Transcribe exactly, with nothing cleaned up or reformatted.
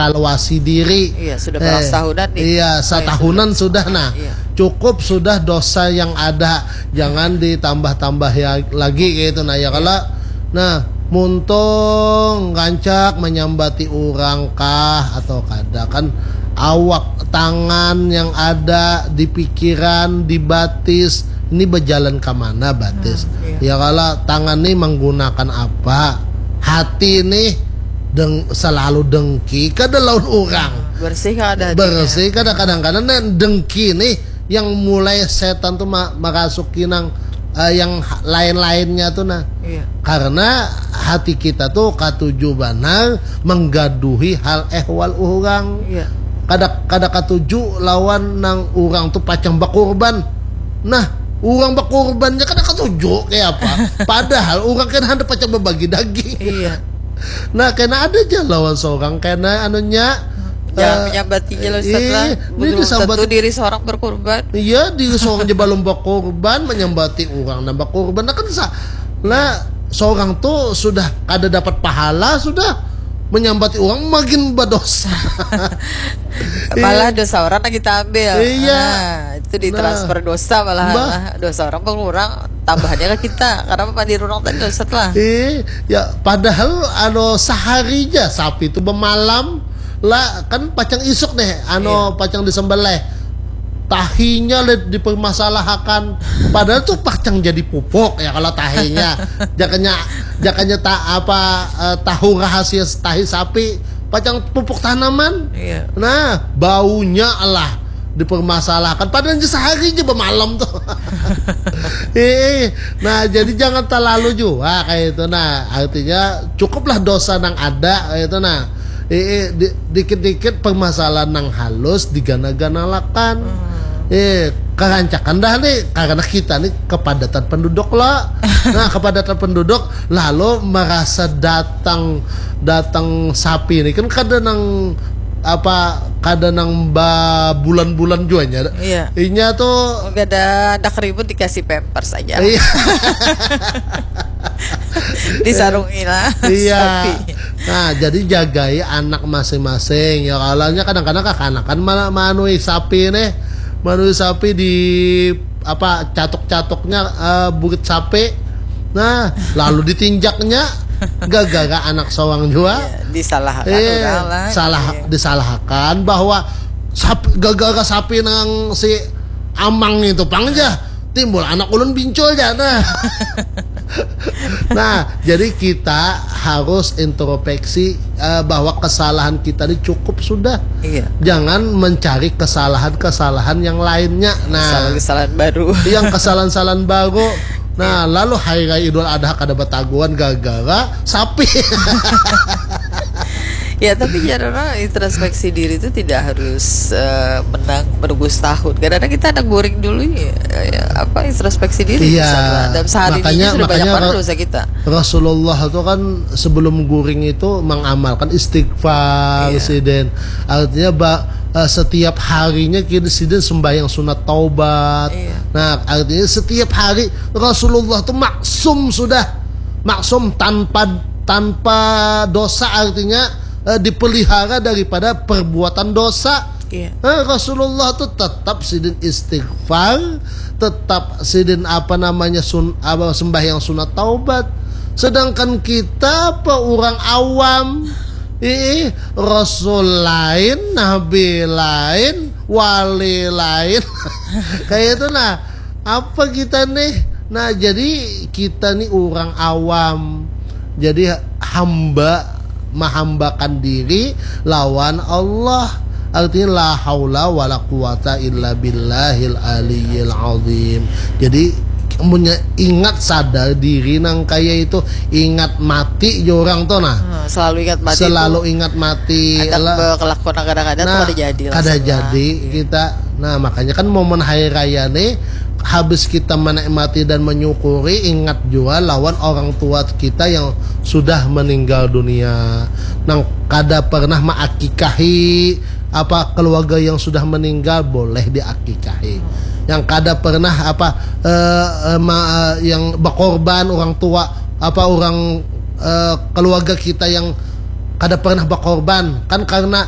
evaluasi diri. Iya, sudah belas tahunan nih. Iya, satahunan sudah, nah. Iya. Cukup sudah dosa yang ada, jangan ditambah-tambah ya, lagi kayak itu, nah, ya kalau, nah, muntung rancak menyambati orang kah atau kada, kan awak, tangan yang ada di pikiran, di batis, ini berjalan ke mana batis? Hmm, iya. Ya kalau tangan nih menggunakan apa? Hati nih deng, selalu dengki kada lawan orang. Bersih kan ada hatinya. Bersih kada, kadang-kadang nah, dengki nih yang mulai setan tuh ma- merasuki nang eh, yang ha- lain-lainnya tuh, nah. Iya. Karena hati kita tuh katuju banar menggaduhi hal ehwal orang. Iya. Kada kada katuju lawan nang orang tuh pacang bakurban. Nah, orang bakurbannya kada katuju kayak apa. Padahal orang kan hendak pacang berbagi daging. Iya. Nah, kena ada aja lawan seorang kena anunya Jangan eh, menyambatinya lah, Ustaz iya, lah. ini Belum disambat- tentu diri seorang berkurban. Iya, di seorang aja balum bakurban, menyambati orang nang bakurban. Nah, kan sa, lah seorang tuh sudah kada dapat pahala, sudah menyambati orang makin berdosa. Malah dosa orang yang kita ambil. Iya. Nah, itu ditransfer dosa malah. Mbah. Lah. Dosa orang berkurang, tambahannya ke kita. Karena apa, diri orang tadi dosa lah. Eh, ya padahal anu sehari aja sapi itu bemalam lah, kan pacang isuk deh, anu Iya. pacang disembelih. Tahinya le dipermasalahkan. Padahal tuh pacang jadi pupuk ya kalau tahinya. Jakanya jakanya tak apa eh, tahu rahasia tahi sapi, pacang pupuk tanaman. Iya. Nah, baunya lah dipermasalahkan. Padahal aja sehari aja bemalam tuh. Eh, nah jadi jangan terlalu juga kayak itu. Nah, artinya cukuplah dosa nang ada kayak itu. Nah, eh, eh, di- dikit-dikit permasalahan nang halus digana-ganalakan. Eh, kerancakan dah nih karena kita nih kepadatan penduduk lah. Nah, kepadatan penduduk lalu merasa datang datang sapi ini kan kada nang apa kada nang ba bulan-bulan juanya. Iya. Inya tuh Gak ada, ada keribut, dikasih pampers aja. Iya. Disarungi lah. Iya. Sapi. Nah, jadi jagai anak masing-masing. Ya kalanya kadang-kadang kakanakan ma- manui sapi nih. Manui sapi di apa catuk-catuknya eh, bukit sapi. Nah, lalu ditinjaknya gara-gara anak sawang juga. Ya, disalahkan Eh, orang lah. salah Iya. disalahkan bahwa sapi, gara-gara sapi nang si amang itu pang aja timbul anak ulun bincul aja nah. Nah, jadi kita harus introspeksi eh, bahwa kesalahan kita ini cukup sudah. Iya. Jangan mencari kesalahan-kesalahan yang lainnya. Nah, Kesalahan-kesalahan baru. Yang kesalahan-kesalahan baru. Nah, lalu hari raya Idul Adha kada bataguan gara-gara sapi. Ya, tapi jarang introspeksi diri itu tidak harus eh, menang menunggu setahun. Kadang-kadang kita ada guring dulu ya, ya, apa, introspeksi diri. Iya. Misalnya. Dan sehari Makanya- ini sudah banyak makanya banget Ra- dosa kita. Rasulullah itu kan sebelum guring itu mengamalkan istighfar Iya. Sidin. Artinya ba, eh, setiap harinya kita Sidin sembahyang sunat taubat. Iya. Nah, artinya setiap hari Rasulullah tuh maksum sudah. Maksum tanpa tanpa dosa artinya eh, dipelihara daripada perbuatan dosa. Iya. Eh, Rasulullah tuh tetap Sidin istighfar, tetap Sidin apa namanya sun, apa, sembahyang sunat taubat. Sedangkan kita apa orang awam, ih Rasul lain, Nabi lain, wali lain, kayak itu nah. Apa kita nih? Nah, jadi kita nih orang awam. Jadi hamba mahambakan diri lawan Allah. Artinya la haula wala quwata illa billahil aliyil azim. Jadi punya ingat sadar diri nang kaya itu, ingat mati jo orang tuh nah. Hmm, selalu ingat mati. Selalu Itu ingat mati. ada Lah- kelakuan kadang-kadang Nah, ada jadi lah, kada Ustaz, jadi lah. Kita. Nah, makanya kan momen hari raya nih habis kita menikmati dan menyukuri, ingat juga lawan orang tua kita yang sudah meninggal dunia. Nang kada pernah maakikahi apa keluarga yang sudah meninggal boleh diakikahi. Yang kada pernah apa eh, eh, ma- eh, yang berkorban orang tua apa orang eh, keluarga kita yang kada pernah berkorban kan karena